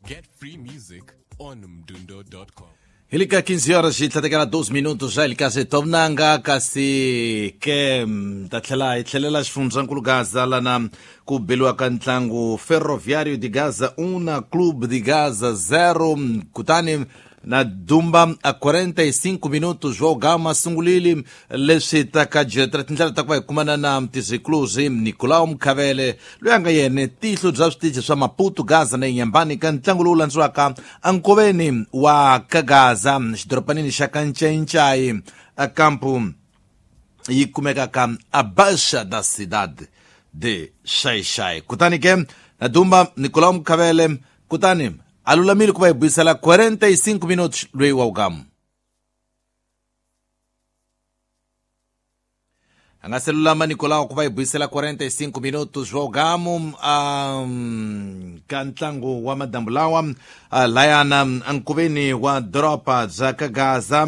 Get free music on mdundo.com. Hilika 15 horas e 12 minutos já ilika tomnanga kasi ke ta tlhela hi tlhelela xifundzankulu Gaza lana ku beliwa ka ntlangu Ferroviário de Gaza 1 na Clube de Gaza 0 kutani na Dumba a 45 minutos wa Gama sungulile leswi ta ka jetra tindlela ta ku va hi kumana na Mtizikluzi Nicolau Mkhavele loyi a nga yena tihlo bya switichi swa Maputo Gaza na Inyambani ka ntlangu lowu landziwaka ankoveni wa Kagaza xidoropanini xa Kancencai a kampu yi kumekaka a Baixa da Cidade de Xai-Xai. Kutani ke na Dumba Nicolau Mkhavele kutani a lulamile ku va hi buyisela 45 minutos loyi wa ugamu a nga se lulama Nicolau ku va hi buyisela 45 minutos wa ugamu ka ntlangu wa madambu lawa layana ankoveni wa doroba bya Kagaza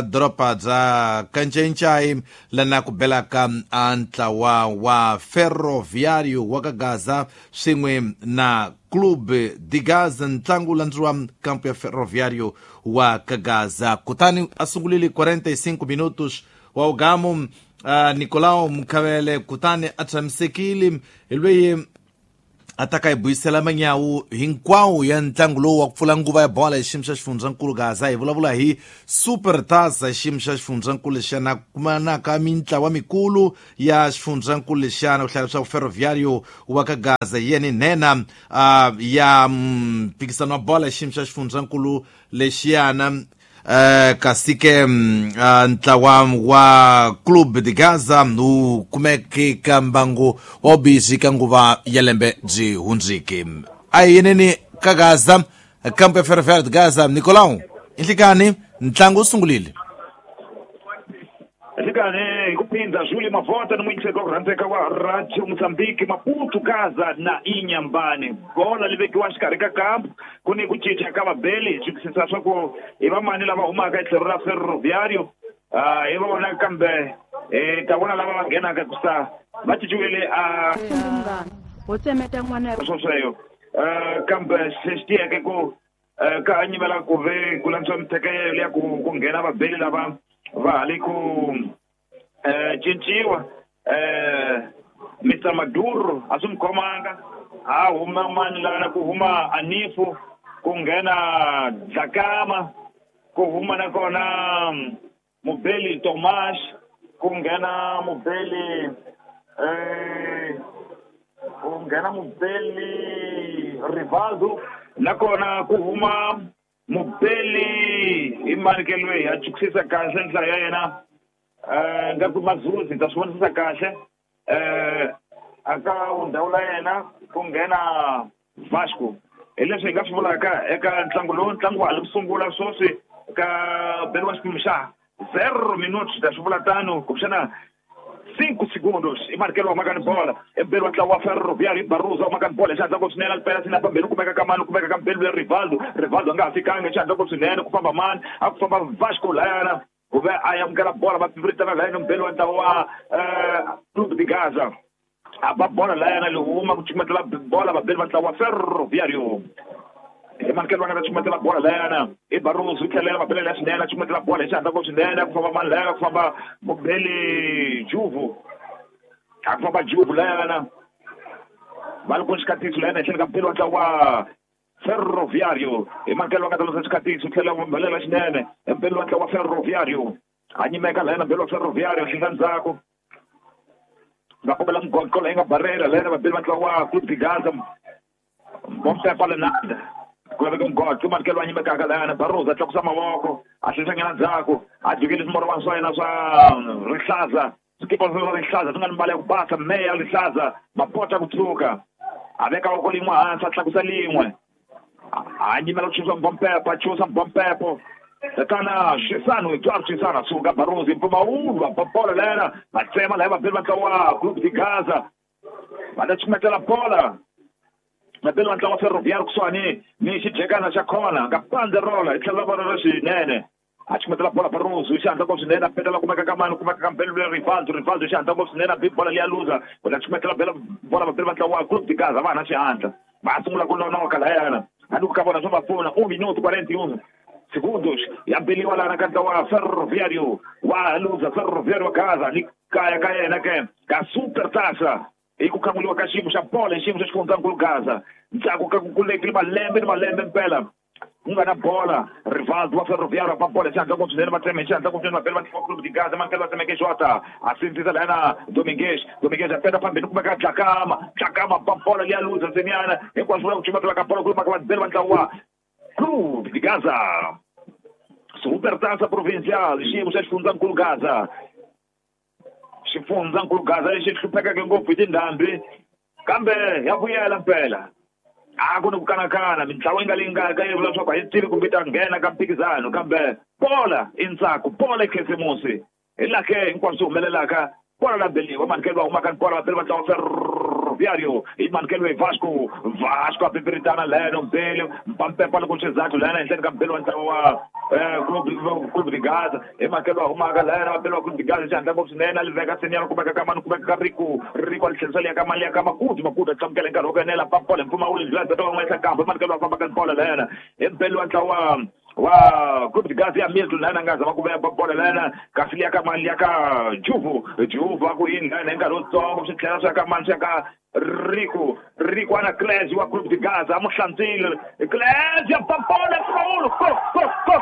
doroba bya Kancencai lana ku belaka a ntlawa wa Ferroviário wa Kagaza swin'we na Clube de Gaza ntlangu landziwa kampo ya Ferroviário wa Kagaza. Kutani a sungulile 45 minutos wa ugamu Nicolau Mkhavele kutani a tshamisekile hi loyi a ta ka hi buyisela manyawu hinkwawo ya ntlangu lowu wa ku pfula nguva ya bola hi xiyimo xa xifundzankulu Gaza. Hi vulavula hi Super Taça hi xiyimo xa xifundzankulu lexiyana kumanaka mintlawa mikulu ya xifundzankulu lexiyana ku hlaya leswaku Ferroviário wa ka Gaza hi yena nhenha ya mphikisano wa bola hi xiyimo xa xifundzankulu lexiyana. Kasi ke ntlawa wa Clube de Gaza wu kumeke ka mbangu wa vubizi ka nguva ya lembe byi hundziki. A hi yeneni ka Gaza kampo ya Ferroviário de Gaza. Nicolau, inhlikani ntlangu wu sungulile. Nhlikani hi ku phindha Júlio Mavota ni muyingiseri wa ku rhandzeka wa Radio Mozambique Maputo Gaza na Inyambani. Bola li vekiwa xikarhi ka kampu ku ni ku cinca ka vabeli hi twisisa swa ku i vamani lava humaka hi tlhelo ra Ferroviário hi vona kambe hi ta vona lava va nghenaka kusa va cinciwile a ho tsemeta n'wana swosweyo kambe xi tiyeke ku ka nyimela ku ve ku lantswa mithekelo ya ku nghena vabeli lava va ha le ku cinciwa. Mr Maduro a swi mi khomanga a huma mani lana ku huma Anifu ku nghena Dlakama ku huma nakona mubeli Tomas ku nghena mubeli ku nghena mubeli Rivaldo nakona ku huma mubeli i mani ke loyi a chukisisa kahle nhlayo ya yena nga ku Mazuzi ta swi vonisisa kahle aka ndhawu la yena ku nghena Vasco. Hi leswi hi nga swi vulaka eka ntlangu lowu ntlangu wa ha li ku sungula sweswi ka beriwa xiphemu xa 0 minutos ta swi vula tano kumbexana 5 segundos i markelo wa maka ni bola ebeli wa ntlawa wa Ferroviário Barroso wa maka ni bola xandla ko swinene alipela sina pambeni kumeka ka mani kumeka ka mbeli ya Rivaldo. Rivaldo a nga ha fikanga xandla ko swinene ku famba mani a ku famba Vasco layana ku ve a amukela bola va piviritana layana mbeli wa ntlawa wa Clube de Gaza a ba bola layana li huma ku cukumetela bola vabeli va ntlawa wa Ferroviário. I manikelo va nga ta cukumetela bola layana i Barroso yi tlhelela mabelela ya swinene a cukumetela bola hi xihatla ko swinene ku famba mani layana ku famba mubeli Juvu a ku famba Juvu layana va li ku xikatiso layana hi tlhelo ka mubeli wa ntlawa wa Ferroviário. I manikelo va nga ta losa xikatiso tlhela mabelela xinene mubeli wa ntlawa wa Ferroviário a nyimeka layana mubeli wa Ferroviário hlenga ndzhaku va kombela mugoqo leyi nga barela layana vabeli va ntlawa wa Clube de Gaza Bompepa Lenanda ku laveka mugoqo manikelo a nyimekaka layana Barroso a tlakusa mavoko a hlenhlanyana ndzhaku a jikeli swimorwana swa yena swa rihlaza swikipa swa rihlaza swi nga ni mbala ya ku basa meya rihlaza mapota ku tshuka a veka voko lin'we hansi a tlakusa lin'we a nyimela ku chusa mbompepo a chusa mbompepo tatana Xisano Eduardo Xisano suka Barroso mpfumawulo va bola layana va tsema laya vabeli va ntlawa wa Clube de Gaza va ta cukumetela bola vabeli va ntlawa wa Ferroviário kusuhani ni xijekana xa khona nga banderola hi tlhelo ra vona ra xinene A chukumetela bola Barroso, xandla ngopfu swinene, a petela kumeka ka mani, kumeka ka Mbelu Rivaldo, Rivaldo xandla ngopfu swinene, a bi bola liya luza, kutani chukumetela bola vapeli va ntlawa wa Clube de Gaza, va na xihatla. Va sungula ku nonoka lahayana. Hambi ku ka vona swo va pfuna, 1 minuto 41 segundos. Ya beliwa lana ka ntlawa wa Ferroviário wa luza, Ferroviário wa Gaza, ni kaya ka yena ke ka Super Taça. I ku khamuliwa ka xiyimo xa bola, xiyimo xa xifundzankulu Gaza. Ndzhaku ka ku kulekile malembe ni malembe mpela. Ku nga na bola, Rivaldo wa Ferroviário va bola xandla ngopfu swinene, va tseme xandla ngopfu swinene, vapeli va ntlawa Clube de Gaza, mankele va tsemeke Jota, a sindzisa lana Domingues, Domingues a peta phambili kumeka Dlakama, Dlakama va bola liya luza ntseniana, hinkwaswo vula ku chumatela ka bola kulumaka vapeli va ntlawa wa Clube de Gaza. Super Taça Provincial, xiyimo xa xifundzankulu Gaza. Xifundzankulu Gaza lexi hluphekeke ngopfu hi tindhambi, kambe ya vuyela mpela. A ku ni ku kanakana, mintlawa yi nga leyi nga ka yi vula leswaku a yi tivi kumbe yi ta nghena ka mphikizano, kambe bola i ntsako, bola i khisimusi. Hi laha ke hinkwaswo swi humelelaka. Bola la beliwa, manikelo wa humaka ni bola vapeli va ntlawa Ferroviário, i manikelo hi Vasco, Vasco a pipiritana leno Mbelu, mpampepa loko xizathu lena henhleni ka Mbelu wa ntlawa wa Clube de Gaza, hi manikelo wa humaka lena vapeli wa Clube de Gaza xihatla ngopfu swinene, a li veka senior kumeka ka mani, kumeka ka Rico, Rico a li tlherisa liya ka mani, liya ka Makudu, Makudu a tlamukela hi nkarhi wo enela, pa bola mpfumawulo ndlela beta van'wana ehenhla kambe manikelo wa fambaka ni bola lena hi Mbelu wa ntlawa wa Clube de Gaza ya Milton lena nga zama ku veka bola lena, kasi liya ka mani, liya ka Juvu, Juvu a ku yini lena hi nkarhi wutsongo, swi tlhela swi ya ka mani, swi ya ka Rico, Rico ana Clésio wa Clube de Gaza, a mu hlantswile Clésio, pa bola mpfumawulo, go go go.